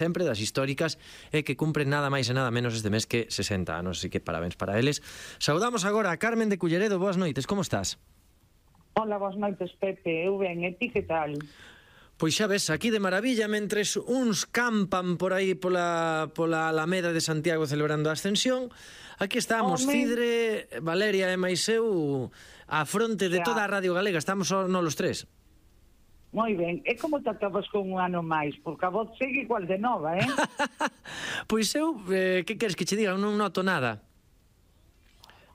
sempre das históricas e que cumpren nada máis e nada menos este mes que 60 anos, así que parabéns para eles. Saudamos agora a Carmen de Culleredo. Boas noites, como estás? Hola, boas noites, Pepe. Eu ben, e ti que tal? Pois xa ves, aquí de maravilla, mentres uns campan por aí pola Alameda de Santiago celebrando a Ascensión, aquí estamos, Cidre, Valeria e máis eu, á fronte de toda a Radio Galega, estamos só nos tres. Moi ben, e como te acabas con un ano máis? Porque a voz segue igual de nova, eh? Pois eu, que queres que che diga? Non noto nada.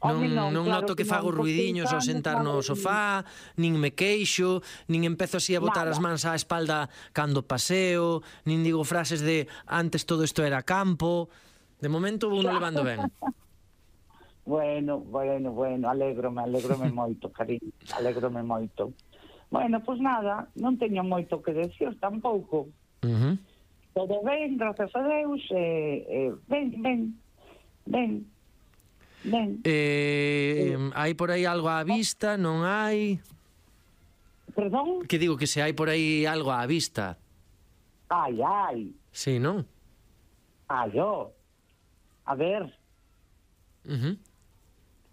Non noto que fago ruidiños ao sentar no sofá, nin me queixo, nin empezo así a botar as mans á espalda cando paseo, nin digo frases de antes todo isto era campo. De momento vou levando ben. Bueno, alégrome moito, cariño, alégrome moito. Bueno, pois nada, non teño moito que decir tampouco. Todo ben, grazas a Deus, ben. Hai por aí algo á vista, non hai? Perdón? Que digo que se hai por aí algo á vista. Ai. Sí, non? Ó. A ver.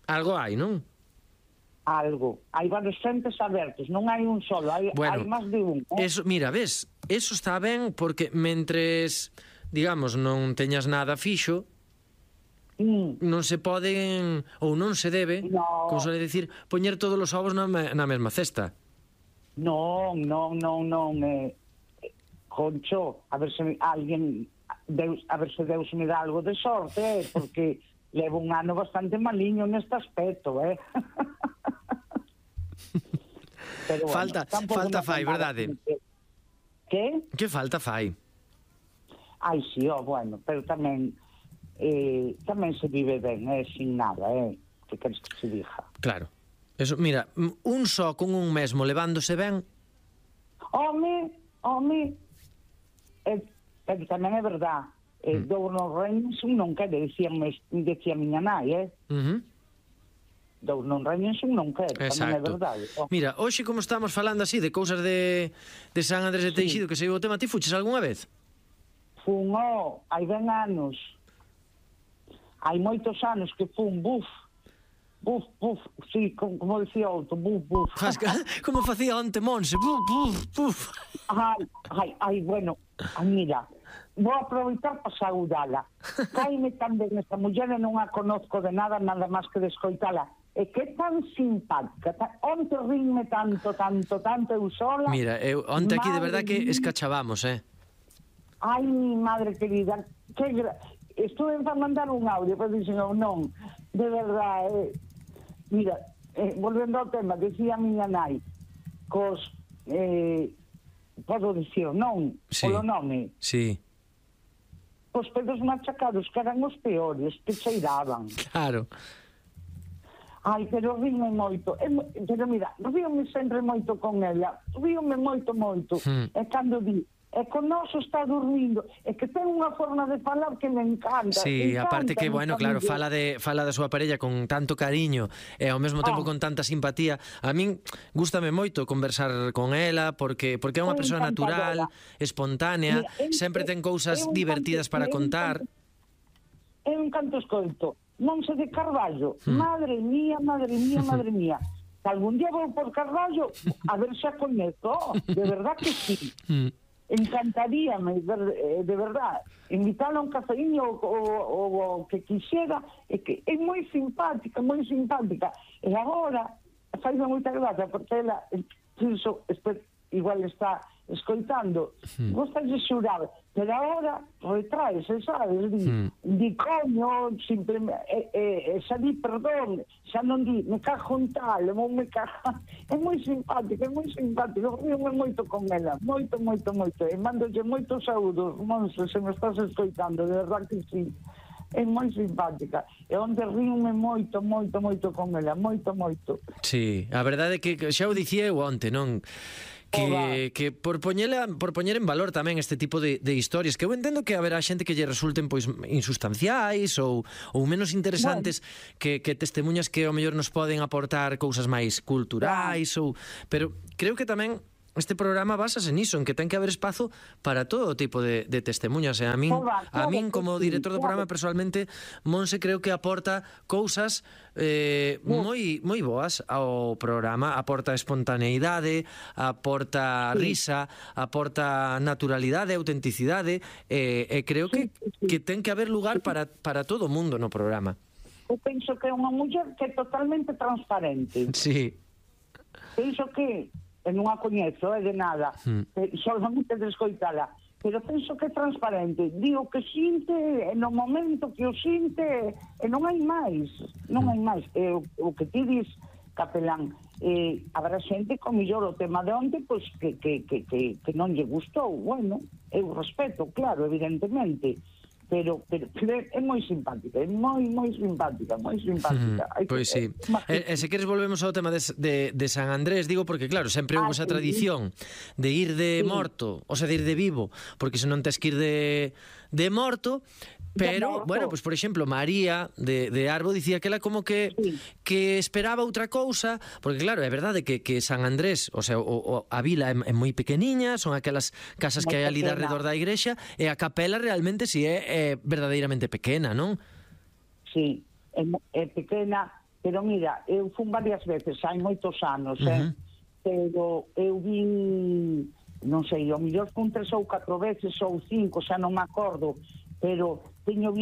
Algo hai, non? Algo. Hai varios frentes abertos, non hai un solo, hai máis de un. Eso, mira, ves, eso está ben porque mentres, digamos, non teñas nada fixo, non se poden, ou non se debe, como suele decir, poñer todos os ovos na mesma cesta. Non. Concho, a ver se alguén, a ver se Deus me dá algo de sorte, porque levo un ano bastante maliño neste aspecto, Pero bueno, falta fai, verdade? Que? Que falta fai? Ai, sí, bueno, pero tamén se vive ben, sin nada, que queres que se diga? Claro. Eso, mira, un só con un mesmo levándose ben. Home, pero tamén é verdad, dous non reñen un non quere, decía miña nai, dous non reñen un non quere, tamén é verdade. Mira, hoxe como estamos falando así de cousas de San Andrés de Teixido, que se o tema, ti fuches algunha vez? Fun, hai ben anos. Hai moitos anos que fun, buf, sí, como decía outro, buf. Como facía onte Monse, buf. Ai, bueno, mira, vou aproveitar para saudala. Caime tamén esta muller e non a conozco de nada máis que de escoitala. E que tan simpática, onte rinme tanto, eu sola. Mira, onte aquí de verdad que escachabamos, Ai, madre querida, estuve a mandar un audio, pero dixen, non, de verdade, mira, volvendo ao tema, decía a miña nai, podo dicir, non, polo nome, cos pedos machacados, que eran os peores, que cheiraban. Claro. Ai, pero ríome moito, pero mira, ríome sempre moito con ela, ríome moito, e cando di, e con noso está dormindo, e que ten unha forma de falar que me encanta. Sí, aparte que, bueno, claro, fala da súa parella con tanto cariño e ao mesmo tempo con tanta simpatía. A min gústame moito conversar con ela porque é unha persoa natural, espontánea, sempre ten cousas divertidas para contar. É un canto escoito, Monse de Carballo, madre mía, que algún día vou por Carballo a ver se a coñezo, de verdad que sí. Encantaríame, de verdad, invitarla a un cafeíño o que quixera, que é moi simpática, e agora faime moita gracia porque ela, igual está escoitando, gosta de xurar, pero agora retraese, sabes, di coño, xa di perdón, xa non di me cajo en tal, é moi simpática, ríome moito con ela, moito, e mándolle moitos saúdos, Monse, se me estás escoitando, de verdad que sí, é moi simpática, e onde ríome moito con ela, moito. Sí, a verdade é que xa o dicía eu onte, non? Que por poñer en valor tamén este tipo de historias, que eu entendo que haberá xente que lle resulten pois insustanciais ou menos interesantes, que testemunhas que ao mellor nos poden aportar cousas máis culturais, pero creo que tamén este programa basase niso, en que ten que haber espazo para todo tipo de testemunhas. E a min como director do programa, personalmente, Monse creo que aporta cousas moi boas ao programa. Aporta espontaneidade, aporta risa, aporta naturalidade, autenticidade, e creo que ten que haber lugar para todo o mundo no programa. Eu penso que é unha muller que é totalmente transparente. Sí. Penso que non a coñezo, de nada, solamente de escoitala, pero penso que é transparente, digo que xinte no momento que o xinte e non hai máis, o que ti dis, Capelán, habrá xente con millor o tema de onde, pois que non lle gustou, bueno, eu respeto, claro, evidentemente, pero é moi simpática, é moi simpática. Pois sí. E se queres volvemos ao tema de San Andrés, digo, porque claro, sempre houve esa tradición de ir de morto, o sea, de ir de vivo, porque se non tes que ir de morto. Pero, bueno, pues por exemplo, María de Arbo dicía que ela como que esperaba outra cousa, porque claro, é verdade que San Andrés, o sea, a vila é moi pequeniña, son aquelas casas que hai ali de arredor da igrexa, e a capela realmente si é verdadeiramente pequena, non? Sí, é pequena, pero mira, eu fun varias veces, hai moitos anos, pero eu vin, non sei, ao mellor fun 3 ou 4 veces ou 5, xa non me acordo, pero teño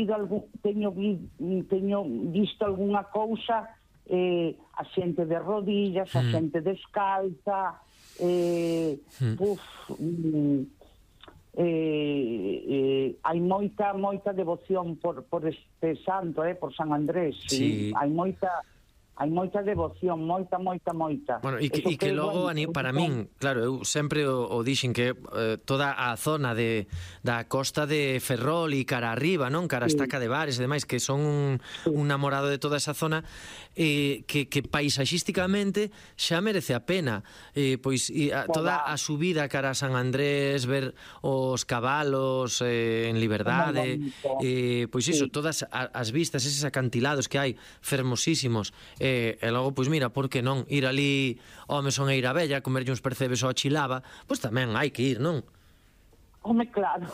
visto algunha cousa, a xente de rodillas, a xente descalza, hai moita devoción por este santo, por San Andrés, sí. Hai moita devoción, moita. Bueno, e que logo, para min, claro, eu sempre o dixen que toda a zona da costa de Ferrol e cara arriba, non? Cara a Estaca de Bares e demais, que son un namorado de toda esa zona, que paisaxísticamente xa merece a pena. Pois toda a subida cara a San Andrés, ver os cabalos en liberdade, pois iso, todas as vistas, eses acantilados que hai fermosísimos, e logo, pois mira, por que non ir ali ao Mesón Eirabella, comerlle uns percebes ao Chilava, pois tamén hai que ir, non? Home, claro.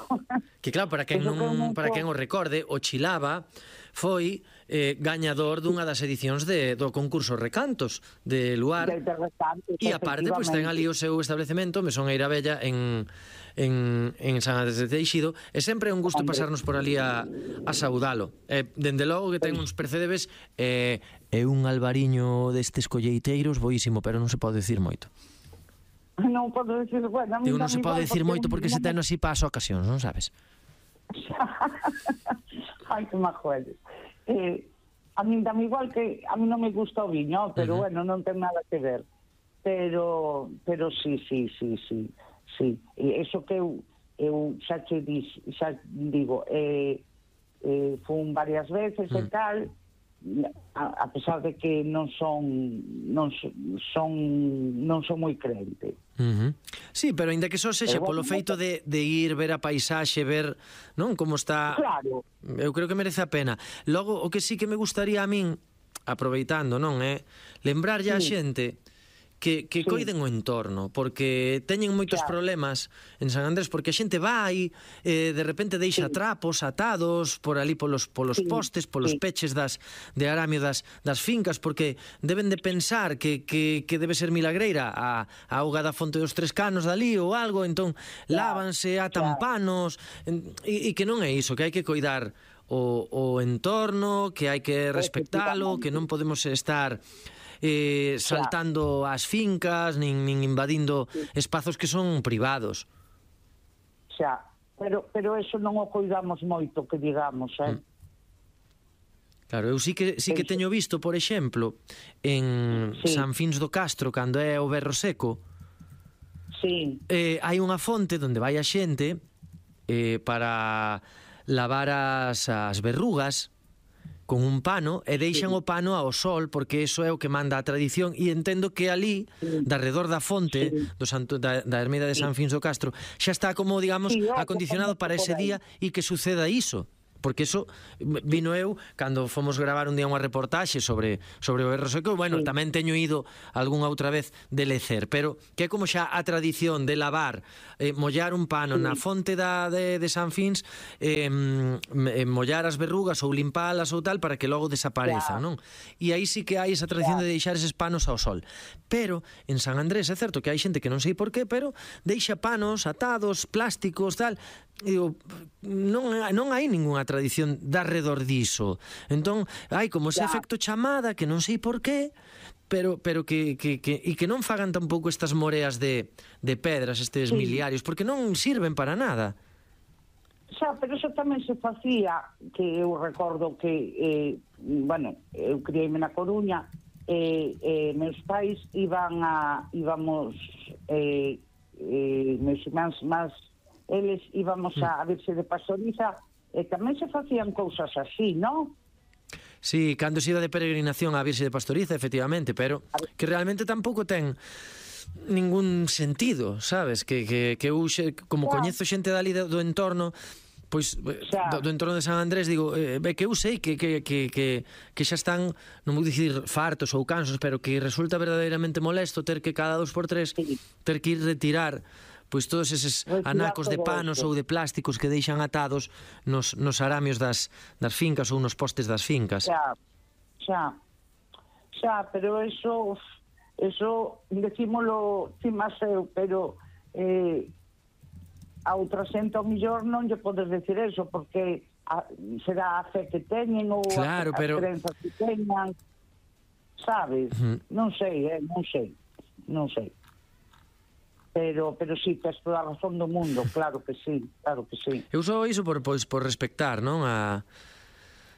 Que claro, para quen o recorde, o Chilava foi gañador dunha das edicións do concurso Recantos de Luar, e aparte pois ten ali o seu establecemento, Mesón Eirabella, en San Andrés de Teixido, e sempre é un gusto pasarnos por ali a saudalo. Dende logo que ten uns percebes, é un albariño destes colleiteiros boísimo, pero non se pode decir moito. Non podo decir, bueno, digo, non se pode decir moito porque se ten así para as ocasións, non sabes? Ai, que majoedes. A min dame igual que a mí non me gusta o viño, pero bueno, non ten nada que ver. Pero sí. E iso que eu xa digo, fun varias veces e tal, a pesar de que non son moi crente. Sí, pero ainda que só sexa polo feito de ir ver a paisaxe, ver, non, como está, claro, eu creo que merece a pena. Logo, o que sí que me gustaría a min, aproveitando, non, lembrarlle a xente que coiden o entorno, porque teñen moitos problemas en San Andrés, porque a xente vai, de repente deixa trapos atados por ali polos postes, polos peches de aramio das fincas, porque deben de pensar que debe ser milagreira a auga da fonte dos Tres Canos dali ou algo, entón lávanse, atan panos, e que non é iso, que hai que coidar o entorno, que hai que respectalo, que non podemos estar saltando as fincas nin invadindo espazos que son privados. Xa, pero eso non o coidamos moito, que digamos, Claro, eu sí que teño visto, por exemplo, en San Fins do Castro, cando é o berro seco, hai unha fonte onde vai a xente para lavar as verrugas con un pano, e deixan o pano ao sol, porque iso é o que manda a tradición, e entendo que ali, de arredor da fonte da ermida de San Fins do Castro, xa está como, digamos, acondicionado para ese día e que suceda iso. porque eso vino eu cando fomos gravar un día unha reportaxe sobre o RSQ. Bueno, tamén teño ido algunha outra vez de lecer, pero que é como xa a tradición de lavar, mollar un pano na fonte de San Fins, mollar as verrugas ou limpalas ou tal para que logo desaparezan, non? E aí sí que hai esa tradición de deixar eses panos ao sol. Pero en San Andrés é certo que hai xente que non sei por qué, pero deixa panos atados, plásticos, tal. E digo, non hai ningunha tradición de arredor diso. Entón, hai como ese efecto chamada que non sei por qué, pero que non fagan tampouco estas moreas de pedras, estes miliarios, porque non sirven para nada. Xa, pero eso tamén se facía, que eu recordo que, bueno, eu criei-me na Coruña, meus pais íbamos, meus irmáns máis, eles íbamos a Virxe de Pastoriza, e tamén se facían cousas así, non? Sí, cando se iba de peregrinación á Virxe de Pastoriza, efectivamente, pero que realmente tampouco ten ningún sentido, sabes? Que eu, como coñezo xente dali do entorno, pois do entorno de San Andrés, digo, que eu sei que xa están, non vou dicir fartos ou cansos, pero que resulta verdadeiramente molesto ter que cada 2x3 ter que ir retirar pois todos eses anacos de panos ou de plásticos que deixan atados nos aramios das fincas ou nos postes das fincas. Xa, pero eso decímolo máis eu, pero a outra xente ao millor non lle podes decir eso, porque será a fe que teñen ou as crenzas que teñan, sabes? Non sei. Pero sí, tes toda a razón do mundo, claro que sí. Eu só iso por respectar, non?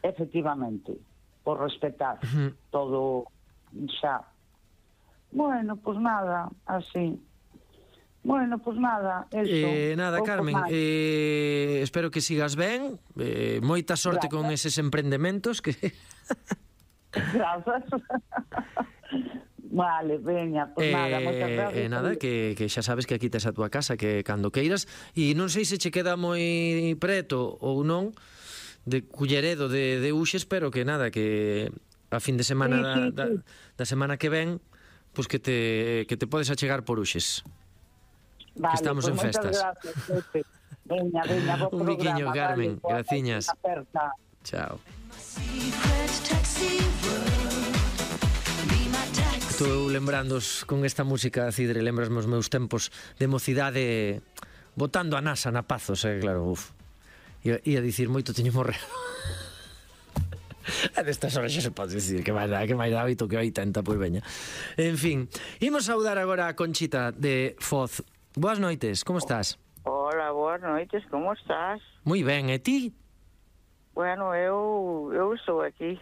Efectivamente, por respetar todo xa. Bueno, pues nada, así. Bueno, pues nada, eso. Nada, Carmen, espero que sigas ben, moita sorte con eses emprendementos que... Grazas. Vale, veña, pues nada, moitas gracias. Nada, que xa sabes que aquí tes a túa casa, que cando queiras, e non sei se che queda moi preto ou non de Culleredo de Uxes, pero que nada, que a fin de semana da semana que ven, pois que te podes achegar por Uxes. Vale, que estamos en festas. Gracias, veña, bo un biquiño, Carmen, graciñas. Chao. Estou lembrando con esta música, Cidre, lembras os meus tempos de mocidade botando a nasa na Pazos, claro, ia dicir moito teño morrero. A destas horas xa se pode dicir que máis dá 8 que 80, pois veña. En fin, imos saudar agora a Conchita de Foz. Boas noites, como estás? Hola, boas noites, como estás? Moi ben, e ti? Bueno, eu estou aquí.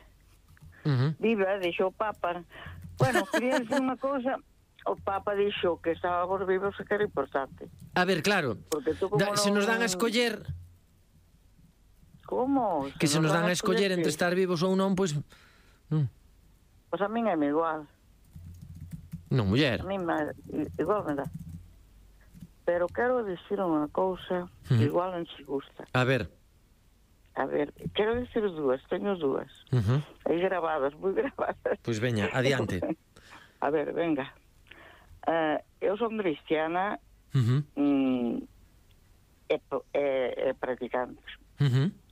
Viva, deixou o Papa. Bueno, quería decir unha cousa. O Papa dixo que estábamos vivos e que era importante. A ver, claro, se nos dan a escoller... Como? Que se nos dan a escoller entre estar vivos ou non, pois... Pois a min é igual. Non, muller. A min igual me dá. Pero quero dicir unha cousa que igual non se gusta. A ver, quero dicir dúas, teño dúas. Aí grabadas, moi grabadas. Pois veña, adiante. A ver, venga. Eu son cristiana e practicante.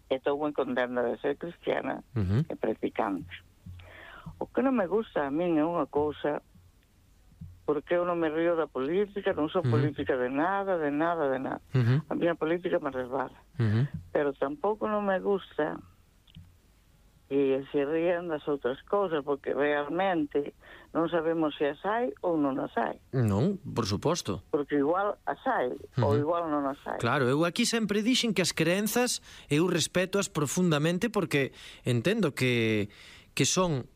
Estou moi contenta de ser cristiana e practicante. O que non me gusta a min é unha cousa, porque eu non me río da política, non sou política de nada. A miña política me resbala. Pero tampouco non me gusta que se rían das outras cousas, porque realmente non sabemos se as hai ou non as hai. Non, por suposto. Porque igual as hai, ou igual non as hai. Claro, eu aquí sempre dixen que as crenzas eu respeto-as profundamente, porque entendo que son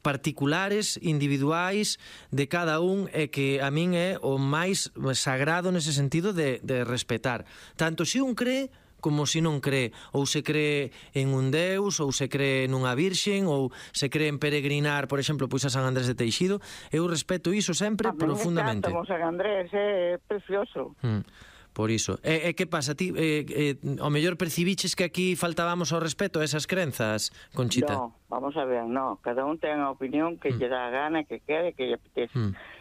particulares, individuais de cada un, e que a min é o máis sagrado nese sentido de respetar. Tanto se un cree como se non cree, ou se cree en un deus, ou se cree nunha virxen, ou se cree en peregrinar, por exemplo, pois a San Andrés de Teixido. Eu respeto iso sempre profundamente. A mí me encanta, San Andrés, é precioso. Por iso. E que pasa, ti ao mellor percibiches que aquí faltábamos ao respeto a esas crenzas, Conchita? No, vamos a ver, no, cada un ten a opinión que lle dá a gana, que quere, que lle apetece.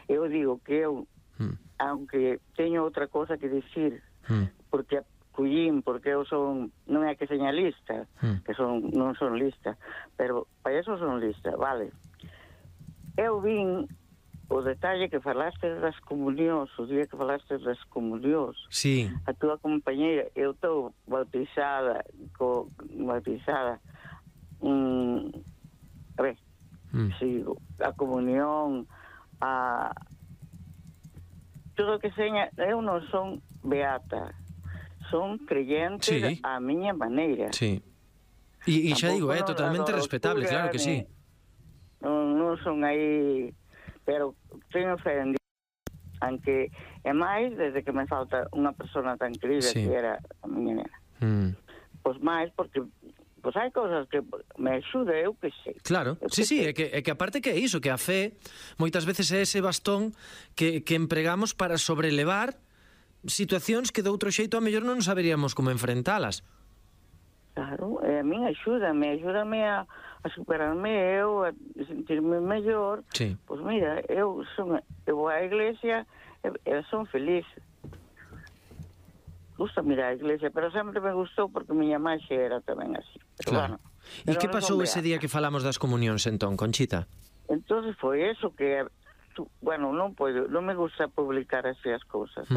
Eu digo que eu, aunque teño outra cosa que dicir, porque collín, porque eu son, non é que seña lista, que non son lista, pero para eso son lista, vale. Eu vin o detalle que falaste das comunións, o día que falaste das comunións. Sí. A túa compañeira, eu estou bautizada, a ver, sigo, a comunión, a todo o que seña, eu non son beata, son creyente á miña maneira. Sí. E xa digo, é totalmente respetable, claro que sí. Non son aí, pero teño fe en Dios, aunque é máis desde que me falta unha persona tan querida que era a miña nena. Pois máis porque hai cousas que me axuda, eu que sei. Claro, sí, é que aparte que é iso, que a fe moitas veces é ese bastón que empregamos para sobrelevar situacións que de outro xeito a mellor non saberíamos como enfrentalas. Claro, a min axúdame a superarme eu, a sentirme mellor. Sí. Pois mira, eu vou á iglesia e son feliz. Gusta mirar a iglesia, pero sempre me gustou porque miña máxe era tamén así. Pero claro. E que pasou ese día que falamos das comunións entón, Conchita? Entón foi eso que, bueno, non me gusta publicar así as cousas.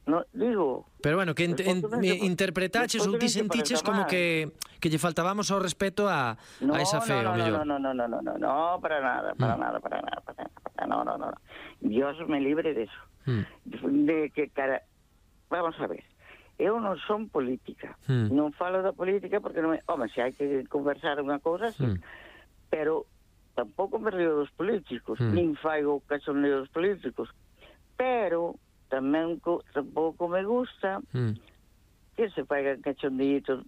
No, digo... Pero bueno, que interpretaches ou ti sentiches como que lle faltábamos ao respeto a esa fe, ao mellor. No, para nada. No. Dios me libre de eso. De que vamos a ver, eu non son política, non falo da política porque non se hai que conversar unha cousa así, pero tampouco me río dos políticos, nin faigo cachondeo dos políticos, pero tamén tampouco me gusta que se faigan cachondeitos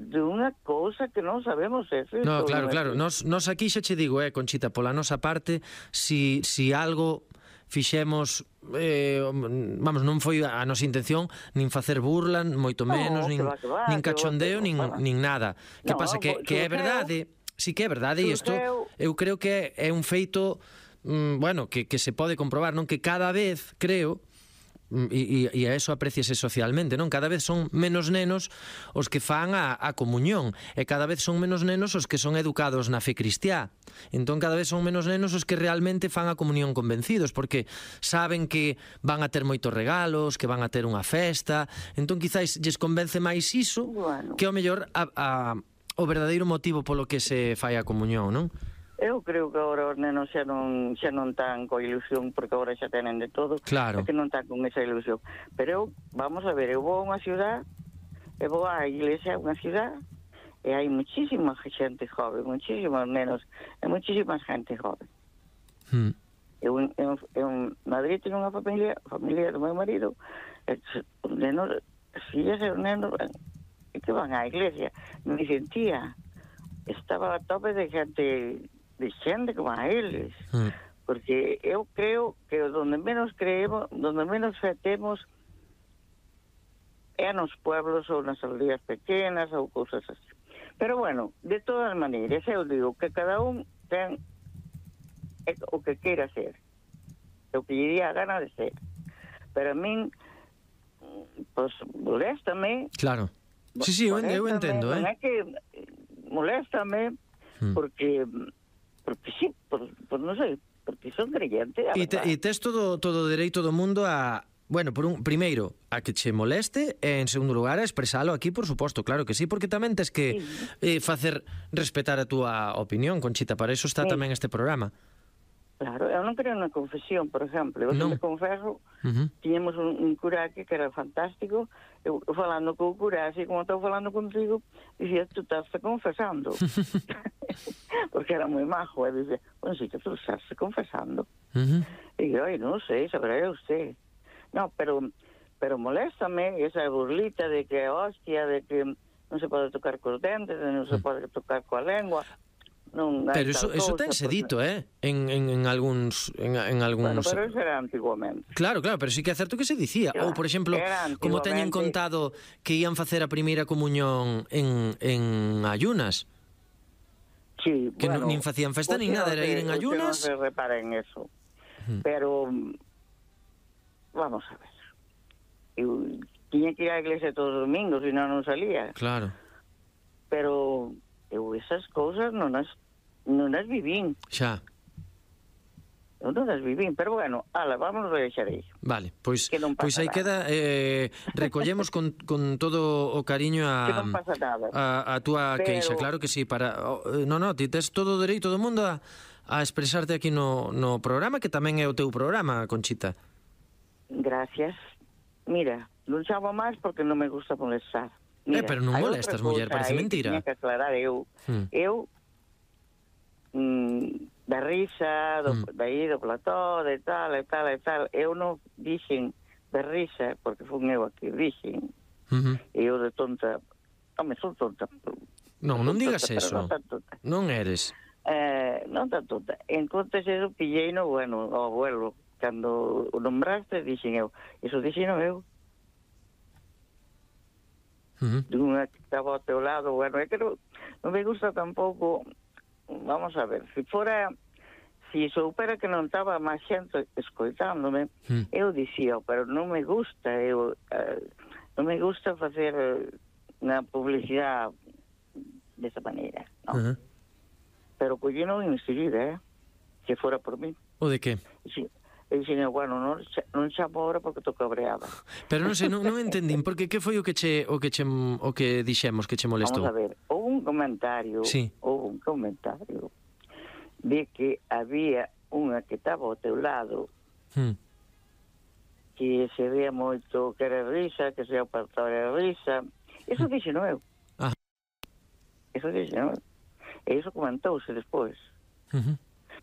de unha cousa que non sabemos se é. No, claro, nos aquí xa che digo, Conchita, pola nosa parte, si algo fixemos, vamos, non foi a nosa intención nin facer burla, moito menos, nin cachondeo, nin nada. Que pasa, que é verdade, sí que é verdade, e isto eu creo que é un feito, bueno, que se pode comprobar, non? Que cada vez, creo, e a eso apreciase socialmente, non? Cada vez son menos nenos os que fan a comunión, e cada vez son menos nenos os que son educados na fe cristiá. Entón cada vez son menos nenos os que realmente fan a comunión convencidos, porque saben que van a ter moitos regalos, que van a ter unha festa. Entón quizás lles convence máis iso que ao mellor o verdadeiro motivo polo que se fai a comunión, non? Eu creo que agora os nenos xa non tan coa ilusión, porque agora xa tenen de todo, claro. Que non tan con esa ilusión. Pero eu, vamos a ver, eu vou a unha ciudad, eu vou á iglesia, unha ciudad, e hai muchísima xente joven, muchísimos nenos, e muchísima xente joven. Eu en Madrid teño unha familia do meu marido, os nenos, as fillas e os nenos que van á iglesia, me dicen, tía, estaba a tope de xente como a eles, porque eu creo que donde menos creemos, donde menos fe temos é nos pueblos ou nas aldeas pequenas ou cousas así. Pero bueno, de todas maneiras, eu digo que cada un ten o que queira ser, o que lle diría a gana de ser. Pero a min, pues, moléstame. Claro. Sí, eu entendo, Non é que moléstame porque sí, non sei, porque son creyente. E tes todo o dereito do mundo a, bueno, primeiro, a que che moleste, e en segundo lugar a expresalo aquí, por suposto, claro que sí, porque tamén tes que facer respetar a túa opinión, Conchita, para iso está tamén este programa. Claro, eu non creo na confesión, por exemplo. Eu me confeso, tiñemos un cura aquí que era fantástico, eu falando co cura, así como estou falando contigo, dicía, tú estás confesando. Porque era moi majo, e dicía, bueno, sí que tú estás confesando. E eu, non sei, saberá usted. No, pero moléstame esa burlita de que hostia, de que non se pode tocar cos dentes, non se pode tocar coa lengua. Pero eso tense dito, en algúns... Bueno, pero eso era antiguamente. Claro, pero sí que é certo que se dicía. Ou, por exemplo, como teñen contado que ían facer a primeira comunión en ayunas. Sí, que bueno, nin facían festa nin nada, era ir en ayunas. Non se repara en eso. Pero, vamos a ver. Eu tiña que ir á iglesia todos os domingos, e non salía. Claro. Pero eu esas cousas non as vivín. Xa. Eu non as vivín, pero bueno, vamos a deixar aí. Vale, pois aí queda, recollemos con todo o cariño a túa queixa, claro que sí, ti tes todo o dereito do mundo a expresarte aquí no programa, que tamén é o teu programa, Conchita. Gracias. Mira, non chamo máis porque non me gusta molestar. Mira, pero non molestas, muller, parece mentira. Tiña que aclarar eu da risa, do plató, de tal, eu non dixen de risa, porque fun eu a que dixen, e eu de tonta, son tonta. Non digas eso, non eres. Non tan tonta. En contas eso pillei no, bueno, ao abuelo, cando o nombraste, dixen eu, eso dixen eu. Dunha que estaba ao teu lado, bueno, é que non me gusta tampouco, vamos a ver, si soupera que non estaba máis xente escoitándome, eu dicía, pero non me gusta, non me gusta facer unha publicidade desa maneira, non? Pero collí non enseguida, se fora por mí. O de que? Sí. E dixen, bueno, non chamo ahora porque estou cabreada. Pero non sei, non entendín, porque que foi o que dixemos que che molestou? Vamos a ver, houve un comentario de que había unha que estaba ao teu lado que se veía moito que era risa, que se apartaba de risa. Eso dixen eu. Eso dixen eu. E iso comentouse despois.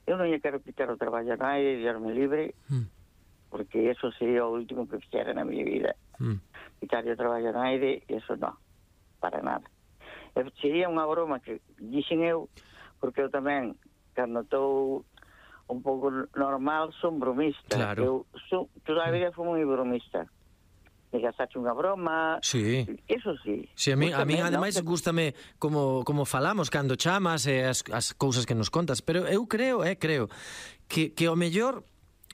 Eu non lle quero quitar o traballo a naide, diarme libre, porque eso sería o último que fixera na miña vida. Quitar o traballo a naide, eso non, para nada. Sería unha broma que dixen eu, porque eu tamén, cando estou un pouco normal, son bromista. Claro. Toda a vida fui moi bromista. Me gastaste unha broma, eso sí. Sí, a mí ademais gústame como falamos cando chamas e as cousas que nos contas, pero eu creo que ao mellor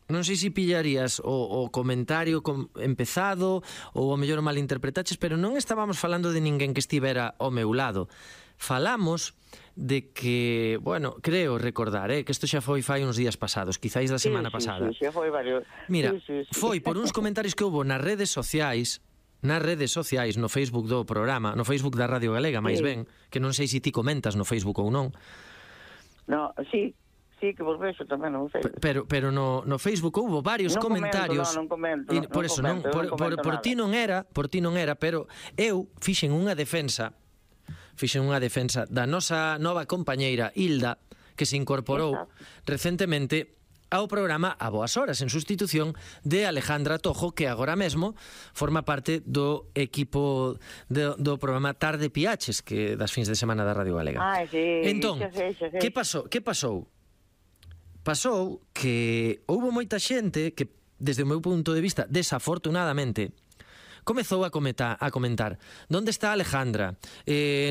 non sei se pillarías o comentario empezado ou ao mellor malinterpretaches, pero non estábamos falando de ninguén que estivera ao meu lado. Falamos de que, bueno, creo recordar, que isto xa foi fai uns días pasados, quizáis da semana pasada. Sí, xa foi varios. Mira, foi por uns comentarios que houbo nas redes sociais, no Facebook do programa, no Facebook da Radio Galega, máis ben, que non sei se ti comentas no Facebook ou non. No, sí, que vos vexo tamén no Facebook. Pero no Facebook houbo varios comentarios. Non comento. Por eso non, por ti non era, pero eu fixen unha defensa da nosa nova compañeira Hilda, que se incorporou recentemente ao programa A Boas Horas, en sustitución de Alejandra Tojo, que agora mesmo forma parte do equipo do programa Tarde Piaches, que das fins de semana da Radio Galega. Entón, que pasou? Pasou que houbo moita xente que, desde o meu punto de vista, desafortunadamente, comezou a comentar: ¿dónde está Alejandra?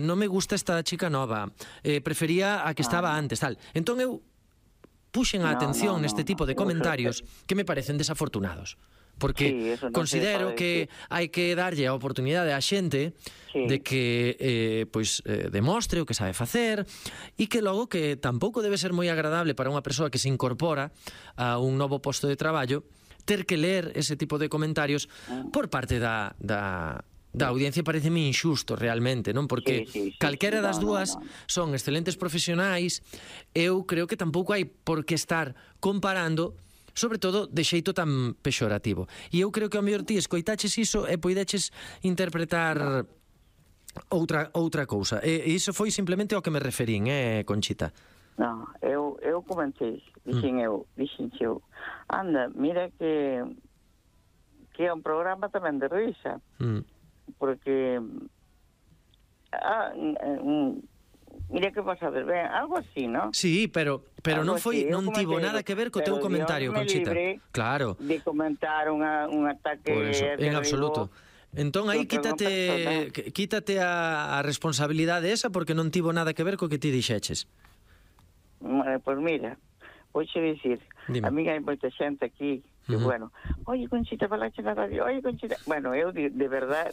Non me gusta esta chica nova, prefería a que estaba antes, tal. Entón eu puxen a atención neste tipo de comentarios que me parecen desafortunados, porque considero que hai que darlle a oportunidade á xente de que demostre o que sabe facer, e que logo que tampouco debe ser moi agradable para unha persoa que se incorpora a un novo posto de traballo ter que ler ese tipo de comentarios por parte da audiencia. Pareceme injusto realmente, non? Porque calquera das dúas son excelentes profesionais. Eu creo que tampouco hai por que estar comparando, sobre todo de xeito tan pexorativo. E eu creo que ao mellor ti escoitaches iso e poideches interpretar outra cousa. E iso foi simplemente ao que me referín, Conchita? Non, eu comentei, dixen eu, anda, mira que é un programa tamén de risa, porque mira que pasades ben, algo así, ¿no? Sí, pero non foi, non tivo nada que ver co teu comentario, Conchita. Claro. De comentar un ataque por eso, en absoluto. Entón aí quítate a responsabilidade esa porque non tivo nada que ver co que ti dixeches. Pois mira, vouche dicir, a mí hai moita xente aquí que, bueno, oye, Conchita, falache na radio, oye, Conchita... Bueno, eu de verdad,